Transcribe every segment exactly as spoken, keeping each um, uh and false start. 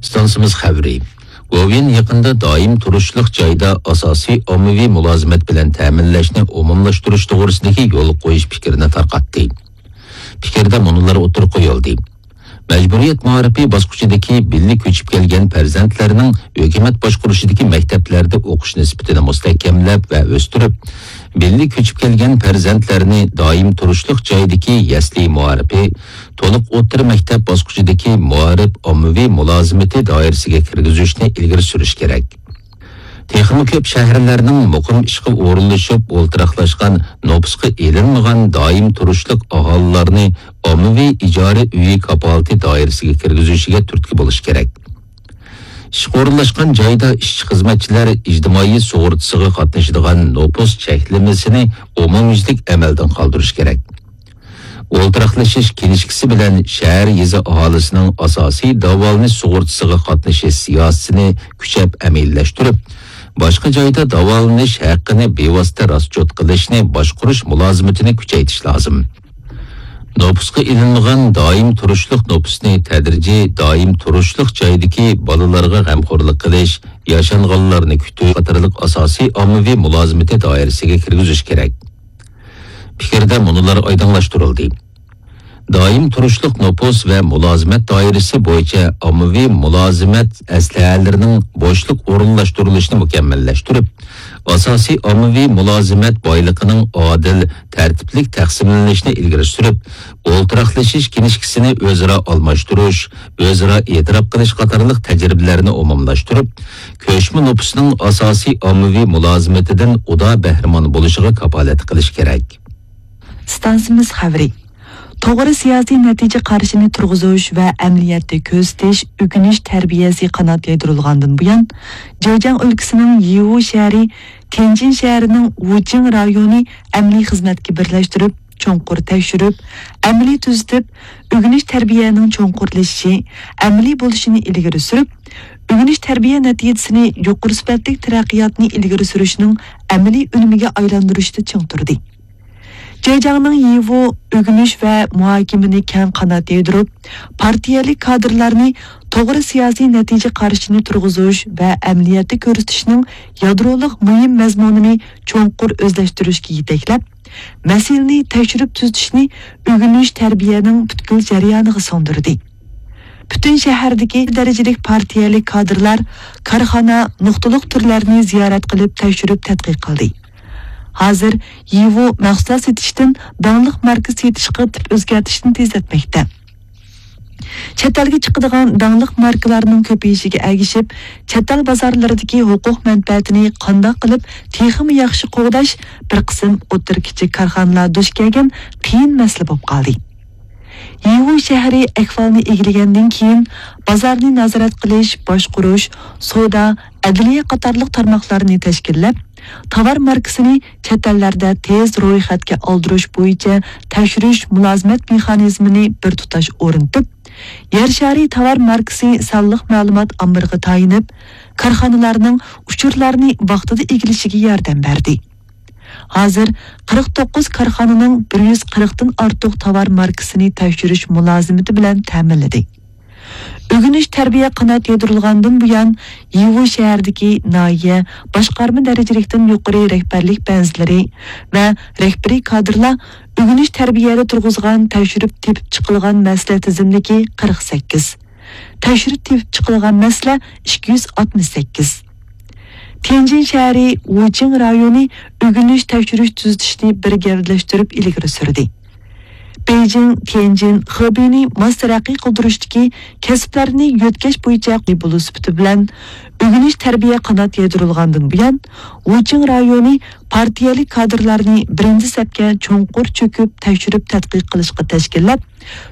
ئىستانسىمىز خەۋىرى. گوۋېن يېقىندا دائىم تۇرۇشلۇق جايدا ئاساسىي ئاممىۋى مۇلازىمەت بىلەن تەمىنلەشنى ئومۇملاشتۇرۇش توغرىسىدىكى يولغا قويۇش پىكرىنى تارقاتتى. پىكىردە مۇنۇلار ئوتتۇرىغا قويۇلدى. مەجبۇرىيەت مائارىپى باسقۇچىدىكى بىللە كۆچۈپ كەلگەن پەرزەنتلەرنىڭ ھۆكۈمەت باشقۇرۇشىدىكى مەكتەپلەردە ئوقۇش نىسبىتىنى مۇستەھكەملەپ ۋە ئۆستۈرۈپ، بىللە كۆچۈپ كەلگەن پەرزەنتلەرنى دائىم تۇرۇشلۇق جايدىكى يەسلى مائارىپى، تولۇق ئوتتۇرا مەكتەپ باسقۇچىدىكى مائارىپ ئاممىۋى مۇلازىمىتى دائىرىسىگە كىرگۈزۈشنى ئىلگىرى سۈرۈش كېرەك. تېخىمۇ كۆپ شەھەرلەرنىڭ مۇقىم ئىشقا ئورۇنلىشىپ ئولتۇراقلاشقان، نوپۇسقا ئېلىنمىغان دائىم تۇرۇشلۇق ئاھالىلارنى ئاممىۋى ئىجارە ئۆيى كاپالىتى دائىرىسىگە كىرگۈزۈشىگە تۈرتكە بولۇش كېرەك. ئىشقا ئورۇنلاشقان جايدا ئىشچى-خىزمەتچىلەر ئىجتىمائىي سۇغۇرتىسىغا قاتنىشىدىغان نوپۇس چەكلىمىسىنى ئومۇميۈزلۈك ئەمەلدىن قالدۇرۇش كېرەك. ئولتۇراقلىشىش كىنىشكىسى بىلەن شەھەر، يېزا ئاھالىسىنىڭ ئاساسىي داۋالىنىش سۇغۇرتىسىغا قاتنىشىش سىياسىتىنى كۈچەپ ئەمەلىيلەشتۈرۈپ، باشقا جايدا داۋالىنىش ھەققىنى بىۋاسىتە راسچوت قىلىشنى باشقۇرۇش مۇلازىمىتىنى كۈچەيتىش لازىم. نوپۇسقا ئېلىنمىغان دائىم تۇرۇشلۇق نوپۇسنى تەدرىجىي دائىم تۇرۇشلۇق جايدىكى بالىلارغا غەمخورلۇق قىلىش، ياشانغانلارنى كۈتۈش قاتارلىق ئاساسىي ئاممىۋى مۇلازىمىتى دائىرىسىگە كىرگۈزۈش كېرەك. پىكىردە مۇنۇلار ئايدىڭلاشتۇرۇلدى. دائىم تۇرۇشلۇق نوپۇس ۋە مۇلازىمەت دائىرىسى بويىچە ئاممىۋى مۇلازىمەت ئەسلىھەلىرىنىڭ بوشلۇق ئورۇنلاشتۇرۇلۇشىنى مۇكەممەللەشتۈرۈپ، ئاساسىي ئاممىۋى مۇلازىمەت بايلىقىنىڭ ئادىل، تەرتىپلىك تەقسىملىنىشىنى ئىلگىرى سۈرۈپ، ئولتۇراقلىشىش كىنىشكىسىنى ئۆزئارا ئالماشتۇرۇش، ئۆزئارا ئېتىراپ قىلىش قاتارلىق تەجرىبىلەرنى ئومۇملاشتۇرۇپ، كۆچمە نوپۇسنىڭ ئاساسىي ئاممىۋى مۇلازىمىتىدىن ئۇدا بەھرىمەن بولۇشىغا كاپالەتلىك قىلىش كېرەك. ئىستانسىمىز خەۋىرى. توغرا سىياسىي نەتىجە قارىشىنى تۇرغۇزۇش ۋە ئەمەلىيەتتە كۆرسىتىش، ئۆگىنىش تەربىيەسى قانات يايدۇرۇلغاندىن بۇيان، جېجياڭ ئۆلكىسىنىڭ يىۋۇ شەھىرى تيەنجىن شەھىرىنىڭ ۋۇچىڭ رايونى ئەمەلىي خىزمەتكە بىرلەشتۈرۈپ، چوڭقۇر تەكشۈرۈپ، ئەمەلىي تۈزىتىپ، ئۆگىنىش تەربىيەنىڭ چوڭقۇرلىشىشى، ئەمەلىي بولۇشىنى ئىلگىرى سۈرۈپ، ئۆگىنىش تەربىيە نەتىجىسىنى يۇقىرى سۈپەتلىك تەرەققىياتنى ئىلگىرى سۈرۈشنىڭ ئەمەلىي ئۈنۈمىگە ئايلاندۇرۇشتا چىڭ تۇردى. جېجياڭنىڭ يىۋۇ ئۆگىنىش ۋە مۇھاكىمىنى كەڭ قانات يايدۇرۇپ، پارتىيەلىك كادىرلارنى توغرا سىياسىي نەتىجە قارىشىنى تۇرغۇزۇش ۋە ئەمەلىيەتتە كۆرسىتىشنىڭ يادرولۇق مۇھىم مەزمۇنىنى چوڭقۇر ئۆزلەشتۈرۈشكە يېتەكلەپ، مەسىلىنى تەكشۈرۈپ تۈزىتىشنى ئۆگىنىش تەربىيەنىڭ پۈتكۈل جەريانىغا سىڭدۈردى. پۈتۈن شەھەردىكى دەرىجىلىك پارتىيەلىك كادىرلار كارخانا، نۇقتىلىق تۈرلەرنى زىيارەت قىلىپ تەكشۈرۈپ تەتقىق قىلدى. ھازىر يىۋۇ مەھسۇلات سېتىشتىن داڭلىق ماركا سېتىشقا تىپ ئۆزگەرتىشنى تېزلەتمەكتە. چەت ئەلگە چىقىدىغان داڭلىق ماركىلارنىڭ كۆپىيىشىگە ئەگىشىپ، چەت ئەل بازارلىرىدىكى ھوقۇق مەنپەئەتىنى قانداق قىلىپ تېخىمۇ ياخشى قوغداش بىر قىسىم ئوتتۇرا، كىچىك كارخانىلار دۇچ كەلگەن قىيىن مەسىلە بولۇپ قالدى. يىۋۇ شەھىرى ئەھۋالنى ئىگىلىگەندىن كېيىن، بازارنى نازارەت قىلىش، باشقۇرۇش، سودا، ئەدلىيە قاتارلىق تارماقلارنى تەشكىللەپ، تاۋار ماركىسىنى چەت ئەللەردە تېز رويخەتكە ئالدۇرۇش بويىچە تەكشۈرۈش مۇلازىمەت مېخانىزمىنى بىر تۇتاش ئورنىتىپ، يەر شارى تاۋار ماركىسى سانلىق مەلۇمات ئامبىرىغا تايىنىپ، كارخانىلارنىڭ ئۇچۇرلارنى ۋاقتىدا ئىگىلىشىگە ياردەم بەردى. ھازىر قىرىق توققۇز كارخانىنىڭ بىر يۈز قىرىقتىن ئارتۇق تاۋار ماركىسىنى تەكشۈرۈش مۇلازىمىتى بىلەن تەمىنلىدى. ئۆگىنىش تەربىيە قانات يايدۇرۇلغاندىن بۇيان، يىۋۇ شەھىرىدىكى ناھىيە، باشقارما دەرىجىلىكتىن يۇقىرى رەھبەرلىك بەنزىلىرى ۋە رەھبىرىي كادىرلار ئۆگىنىش تەربىيەدە تۇرغۇزغان تەكشۈرۈپ تېپىپ چىقىلغان مەسىلە تىزىملىكى قىرىق سەككىز، تەكشۈرۈپ تېپىپ چىقىلغان مەسىلە ئىككى يۈز ئاتمىش سەككىز. تيەنجىن شەھىرى ۋۇچىڭ رايونى ئۆگىنىش تەكشۈرۈش تۈزىتىشنى بىر گەۋدىلەشتۈرۈپ ئىلگىرى سۈردى. بېيجىڭ، تيەنجىن، خېبېينى ماس تەرەققىي قىلدۇرۇشتىكى كەسىپلەرنى يۆتكەش بويىچە بولۇش سۈپىتى بىلەن، ئۆگىنىش تەربىيە قانات يايدۇرۇلغاندىن بۇيان، ۋۇچىڭ رايونى پارتىيەلىك كادىرلارنى بىرىنچى سەپكە چوڭقۇر چۆكۈپ تەكشۈرۈپ تەتقىق قىلىشقا تەشكىللەپ،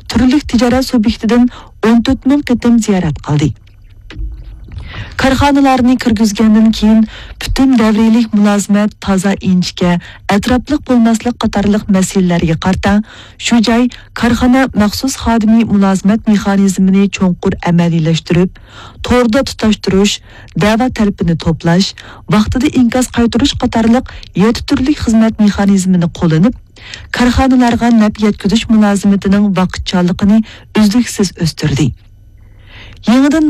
تۈرلۈك تىجارەت سۇبيېكتىدىن ئون تۆت مىڭ قېتىم زىيارەت قىلدى. كارخانىلارنى كىرگۈزگەندىن كېيىن، پۈتۈن دەۋرىيلىك مۇلازىمەت، تازا ئىنچىكە، ئەتراپلىق بولماسلىق قاتارلىق مەسىلىلەرگە قارىتا، شۇ جاي كارخانا مەخسۇس خادىمى مۇلازىمەت مېخانىزمىنى چوڭقۇر ئەمەلىيلەشتۈرۈپ، توردا تۇتاشتۇرۇش، دەۋا تەلىپىنى توپلاش، ۋاقتىدا ئىنكاس قايتۇرۇش قاتارلىق يەتتە تۈرلۈك خىزمەت مېخانىزمىنى قوللىنىپ، كارخانىلارغا نەپ يەتكۈزۈش مۇلازىمىتىنىڭ ۋاقىتچانلىقىنى ئۈزلۈكسىز ئۆستۈردى. يېڭىدىن